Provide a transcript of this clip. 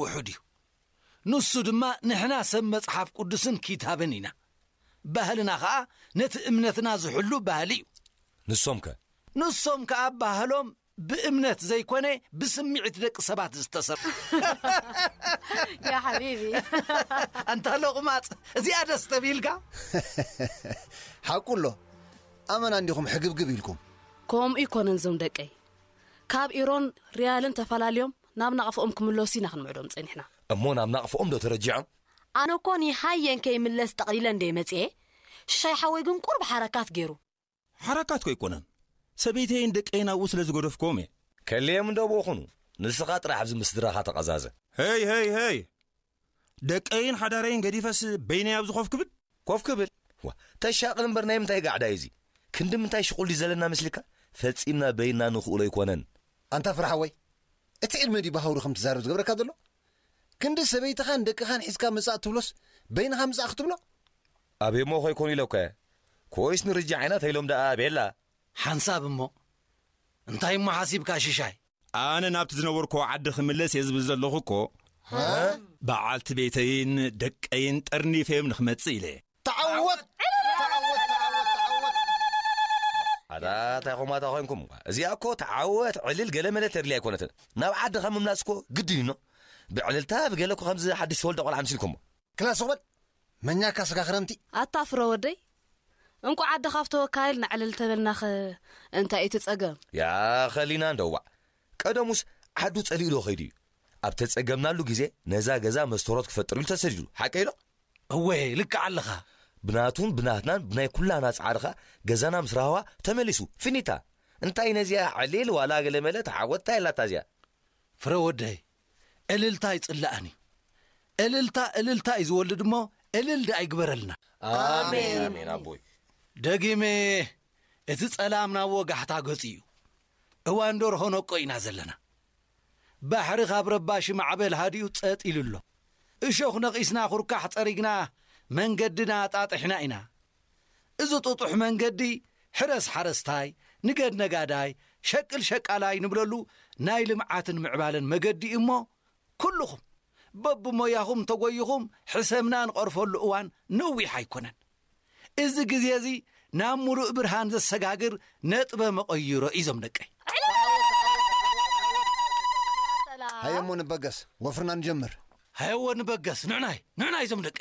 ውሑድ እዩ። ንሱ ድማ ንሕና ሰብ መጽሓፍ ቅዱስን ኪታብን ኢና። ባህልና ኸኣ ነቲ እምነትና ዝሕሉ ባህሊ እዩ። ንሶም ከ? ንሶም ከኣ ባህሎም ብእምነት ዘይኮነ ብስምዒት ደቂ ሰባት ዝተሰርሐ። يا حبيبي. ኣንታ ሎቕማጽ፣ እዚኣ ደስ ተቢልካ። ሓቁ ኣሎ። ኣመና እንዲኹም ሕግብግብ ኢልኩም። ከምኡ ይኮነን ዞም ደቀይ፣ ካብ ኢሮን ሪያልን ተፈላልዮም ናብ ናቕፍኦም ክምለሱ ኢና ክንምዕዶም ጸኒሕና። እሞ ናብ ናቕፍኦም ዶ ተረጂዖም? ኣነ እኮ ንሃየን ከይምለስ ጠቕሊለ እንደ መጽኤ፣ ሽሻይ ሓወይ ግን ቁርብ ሓረካት ገይሩ። ሓረካት ኮ ኣይኮነን፣ ሰበይተይን ደቀይን ኣብኡ ስለ ዝገደፍክዎም እየ። ከልዮም እንዶ ብኡ ኹኑ፣ ንስኻ ጥራሕ ኣብዚ ምስ ስድራኻ ተቐዛዘ። ሄይ ሄይ ሄይ፣ ደቀይን ሓዳረይን ገዲፈስ በይነይ ኣብዚ ኮፍ ክብል? ኮፍ ክብል? ዋ፣ ተሻቕል እምበር ናይ ምንታይ ጋዕዳ እዩ እዚ? ክንዲ ምንታይ ሽቑል ድዩ ዘለና መስልካ? ፈጺምና በይንና ንኽእሎ ኣይኮነን። ኣንታ ፍረ ሓወይ፣ እቲ ዕድመ ድዩ ብሃውሪ ከም ትዛረብ ዝገብረካ ዘሎ? ክንዲ ሰበይትኻን ደቅኻን ሒዝካ ምጻእ ትብሎስ በይንኻ ምጻእ ክትብሎ? ኣቤ እሞ ኾይኮኑ ኢለኳ እየ። ኮይስ ንርጃ ዓይና ተይሎም ደኣ ቤላ። ሓንሳብ እሞ እንታይ እሞ ሓሲብካ ሽሻይ? ኣነ ናብቲ ዝነበርኩዎ ዓዲ ክምለስ እየ ዝብል ዘለኹ እኮ። በዓልቲ ቤተይን ደቀይን ጠርኒፈዮም ንኽመጽእ ኢለ እየ። ተዓወት! ተዓወት! ተዓወት! ተዓወት! ኣታ እንታይ ኹም ኣታ ኾይንኩም? እዚኣ እኮ ተዓወት ዕልል ገለ መለ ተድልያ ኣይኮነትን። ናብ ዓድኻ ምምላስ እኮ ግድን እዩ። ብዕልልታ ብገለ እኮ ከምዚ ሓድሽ ተወልደ ቆልዓ ኣምሲልኩሞ። ክላ ስቕ በል። መኛካ ስጋ ክረምቲ። ኣታ ፍረ ወደይ፣ እንቋዕ ዓዲ ካብ ተወካይል ንዕልል ተበልናኸ እንታይ እቲ ጸገም? ያ ኸሊና እንደዋዕ። ቀደሙስ ዓዱ ጸሊኡ ዶ ኸይዱ እዩ? ኣብ ተጸገምናሉ ግዜ ነዛ ገዛ መስተሮት ክፈጥር ኢሉ ተሰዲዱ። ሓቀይ ዶ? እወ፣ ልክዕ ኣለኻ። ብናቱን ብናትናን ብናይ ኩላና ጻዕሪ ኸኣ ገዛና ምስ ራህዋ ተመሊሱ። ፊኒታ። እንታይ ነዚኣ ዕሊል ዋላ ገለ መለ ተዓወት እንታይ ኣላታ እዚኣ? ፍረ ወደይ፣ እልልታ ኣይጽላእን እዩ። እልልታ እልልታ እዩ ዝወልድ እሞ እልል ደኣ ይግበረልና። ኣሜን። ኣሜን ኣቦይ። ደጊመ እቲ ጸላም ናብ ወጋሕታ ገጹ እዩ። እዋን ደርሆ ነቆ ኢና ዘለና። ባሕሪ ካብ ረባሺ ማዕበል ሃዲኡ ጸጥ ኢሉ ኣሎ። እሾኽ ነቒስና ኩርካሕ ጸሪግና መንገድና ኣጣጢሕና ኢና። እዚ ጥጡሕ መንገዲ ሕረስ ሓረስታይ፣ ንገድ ነጋዳይ፣ ሸቅል ሸቃላይ ንብለሉ ናይ ልምዓትን ምዕባለን መገዲ እዩ እሞ ኩልኹም በብሞያኹም ተጎይኹም ሕሰምና ንቐርፈሉ እዋን ነዊሕ ኣይኮነን። እዚ ግዜ እዚ ናብ ሙሉእ ብርሃን ዘሰጋግር ነጥበ መቐይሮ እዩ ዞም ደቀይ። ሃየሞ ንበገስ፣ ወፍርና ንጀምር። ሃየዎ ንበገስ፣ ንዕናይ ንዕናይ ዞም ደቀይ።